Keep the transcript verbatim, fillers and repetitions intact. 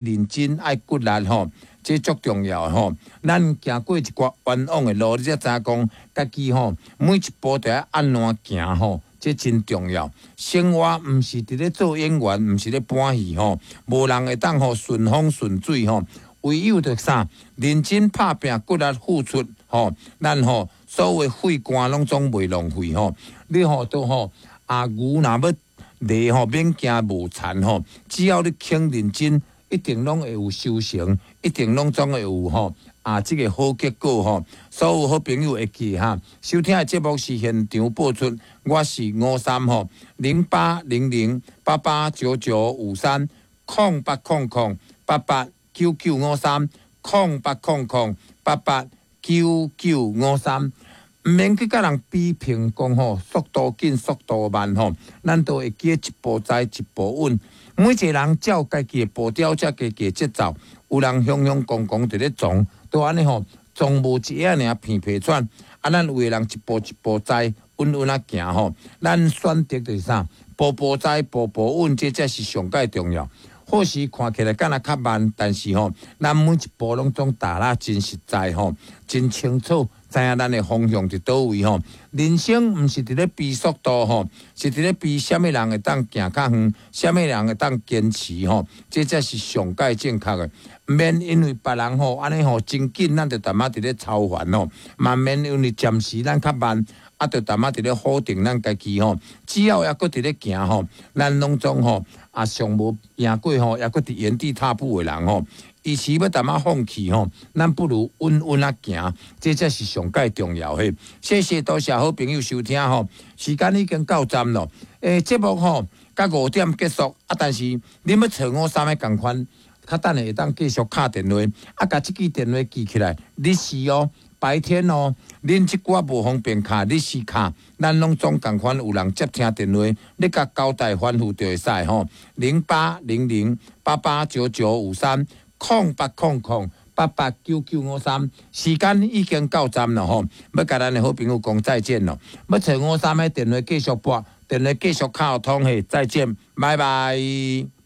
認真愛骨力吼，這足重要的吼。咱行過一寡冤枉的路，你才知影講家己吼，每一步都愛按怎行吼，這真重要。生活毋是佇咧做演員，毋是咧搬戲吼，無人會當吼順風順水吼。唯有著啥，認真拍拚，骨力付出吼，咱吼所有血汗攏總袂浪費吼。你吼都吼啊牛若欲犁吼，免驚無田吼，只要你肯認真，一定攏會有收成，一定攏總會有吼啊！這個好結果吼，所有好朋友會記哈。收聽的節目是現場播出，我是吳三吼，零八零零八八九九五三空八空空八八九九五三空八空空八八九九五三。毋免去共人比拼講吼，速度緊，速度慢吼，咱都會記一步栽一步穩。每一個人照家己的步調，照家己的節奏。有人雄雄剛剛佇咧撞，都按呢吼，撞無一下爾鼻皮喘。啊，咱有的人一步一步栽，穩穩仔行吼。咱選擇就是啥？步步栽，步步穩，這才是上蓋重要。或許看起來敢若較慢，但是吼，咱每一步攏總踏得真實在吼，真清楚，知影咱的方向佇佗位吼。人生毋是佇咧比速度吼，是佇咧比啥物人會當行較遠，啥物人會當堅持吼，這才是上蓋正確的。毋免因為別人吼按呢吼真緊，咱就淡仔佇咧操煩吼，嘛毋免因為暫時咱較慢，啊，就淡仔佇咧否定咱家己吼。只要猶閣佇咧行吼，咱攏總吼啊上無贏過吼，猶閣佇原地踏步的人吼。與其欲淡仔放棄吼，咱不如穩穩仔行，這才是上蓋重要的。謝謝多謝好朋友收聽吼，時間已經到站咯。欸，節目吼到五點結束啊，但是恁欲揣吳三的仝款，較等下會當繼續敲電話，啊，共這支電話記起來，日時哦，白天哦，恁這久無方便敲，日時敲，咱攏總仝款有人接聽電話，你共交代吩咐就會使吼，零八零零八八九九五三空八空空八八九九五三，時間已經到站了吼，欲共咱的好朋友講再見咯，欲揣吳三的電話繼續撥，電話繼續敲通嘿，再見，拜拜。